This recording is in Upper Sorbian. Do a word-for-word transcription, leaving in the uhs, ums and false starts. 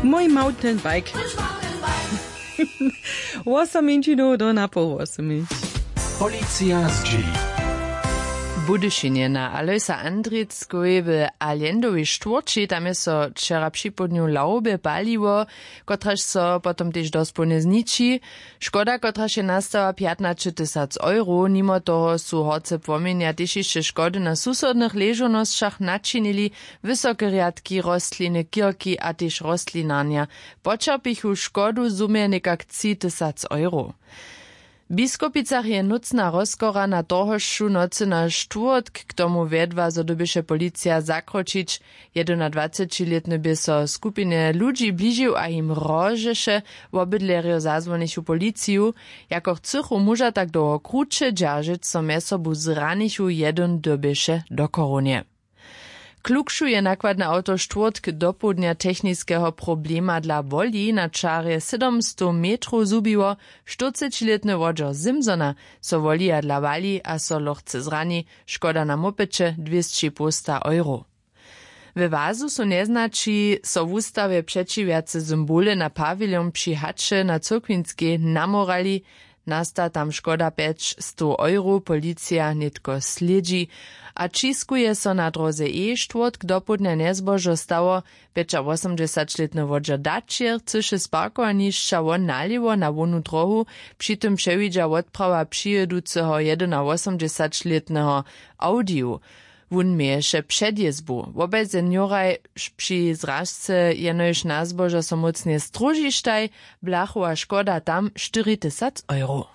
Mój mountainbike. Wosominčinow do napoł wosominč. Policija zdźěli. W Budyšinje na Alojsa Andrickowej w Allendowej štwórći, tam je so wčera připołdnju lawbje paliło, kotraž so potom tež dospołnje zniči. Škoda, kotraž je nastała, pjatnaće tysac euro. Nimo toho su horce płomjenja tež hišće škody na susodnych ležownosćach načinili, wysoke rjadki, rostliny, kirki a tež rostlinarnja poćerpichu škodu w zumje někak tři tysac euro. W Biskopicach je nócna rozkora na torhošću nocy na štwórtk k tomu wjedła, zo dyrbješe policija zakročić. Jedynadwacećilětny bě so skupinje ludźi bližił a jim hrožeše. Wobydlerjo zazwonichu policiju. Jako chcychu, móža tak dołho kruće dźeržeć, so mjez sobu zranichu, jedyn dyrbješe do chorownje. Klukšu je nakładne awto štwórtk dopołdnja techniskeho problema dla woli na čarje sydomstow metrow zhubiło. Štyrcećilětny wodźer simsona so wolija dla wali a so lochce zrani. Škoda na mopeće dwěsći połsta euro. We wazu su njeznaći so wustawje přećiwjace symbole na pawilon při haće na cyrkwinskej namorali. Nasta tam škoda pjećstow euro, policija nětko slědźi. A ćiskuje so na dróze e štwórtk dopołdnja njezbožo stało. Pjećawosomdźesaćlětny wodźer daćer chcyše z parkowanišća won nalěwo na hłownu dróhu. Při tym přewidźa wotprawa přijěduceho jedynawosomdźesaćlětneho audiju. Wón měješe předjězbu. Wobaj senioraj při zražce jenož na zbožo so mócnje stróžištaj. Blachowa škoda tam štyri tysac euro.